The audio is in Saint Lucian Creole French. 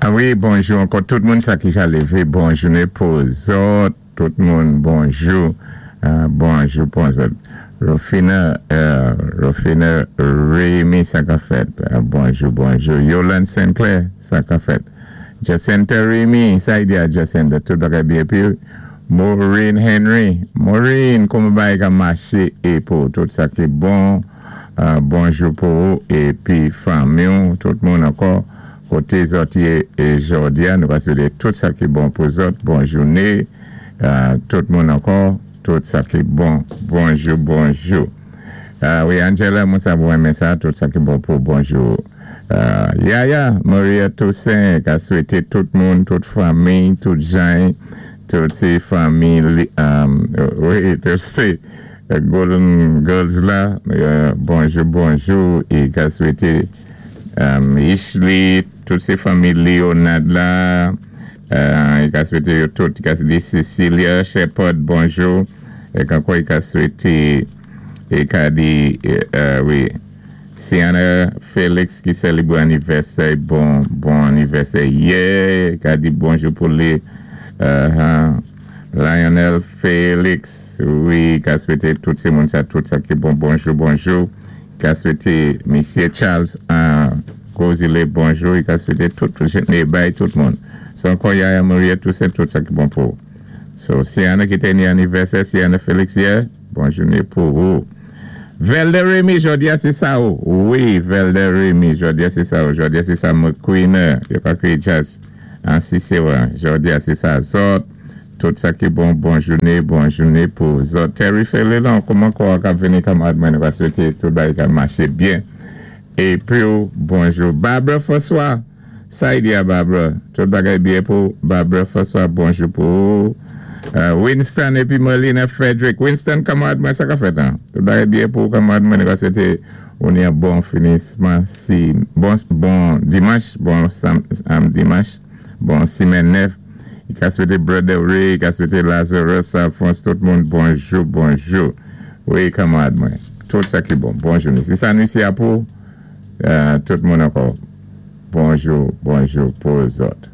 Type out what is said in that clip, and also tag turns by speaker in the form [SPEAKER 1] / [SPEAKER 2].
[SPEAKER 1] A wi, bonjou ankò tout moun sa ki ja lévé, bon jouné pou zòt, tout moun bonjou, bonjou pou zòt. Rofina, Rofina Rémy, sa ka fèt? Bonjou, bonjou. Yolande Sinclair, sa ka fèt? Jacinta Rémy, sa i di a Jacinta, tout bagay byen pi. Maureen Henry, Maureen, kouman bagay ka maché é pou tout sa ki bon, bonjou pou ou épi fanmi ou, tout moun ankò, koté zòt yé jòdi a, nou ka swété tout sa ki bon pou zòt, bon jouné, tout moun ankò, tout sa ki bon, bonjou, bonjou. Wi, Angela, mwen sa mwen renmen sa, tout sa ki bon pou bonjou. Yaya, Maria Toussaint, ka swété tout moun, tout fanmi, tout jan, tout sé fanmi, wi, tout sé Golden Girls la, bonjou, bonjou, é ka swété Ishli, tout sé fanmi Leonard la, i ka swété yo tout, i ka di Cecilia Shepard, bonjou, é ankò i ka swété, i ka di, wi, Sienna Félix ki sélébwé anivèsè, bon, bon anivèsè yè, i ka di bonjou pou li, Lionel Félix, wi, ka swété tout sé moun sa, tout sa ki bon, bonjou, bonjou, ka swété Misyé Charles Gozile, bonjou, i ka swété tout, bay tout moun. So ankò Yaya Maria, tout sé tout sa ki bon pou. So, Sienna ki té ni anivèsè, Sienna Félix yè, bon jouné pou ou. Velde Remy, jòdi a sé sa ou. Wi, Velde Remy, jòdi a sé sa ou. Jòdi a sé sa McQueen, yo ka kwiyé jazz an Sisséwa. Jòdi a sé sa zòt. Tout sa ki bon, bon jouné, bon jouné pou zòt. Terry Felelon, kouman kò a ka vini kanmarad mwen, nou va swété tout bagay ka maché byen. Épi bonjou. Barbara François, sa i di a Barbara? Tout bagay byen pou Barbara François, bonjou pou ou. Winston épi Merlina Frederick. Winston, kanmarad mwen, sa ka fèt an? Tout bagay byen pou kanmarad mwen, nou va swété ou ni yon bon finisman si bon bon dimanch, bon dimanch, bon simèn nèf. I ka swété Brother Ray, i ka swété Lazarus, Alphonse, tout moun, bonjou, bonjou. Wi, kanmarad mwen. Tout sa ki bon. Bon jouné. Si sa nou isi a pou tout moun ankò. Bonjou, bonjou pou zòt.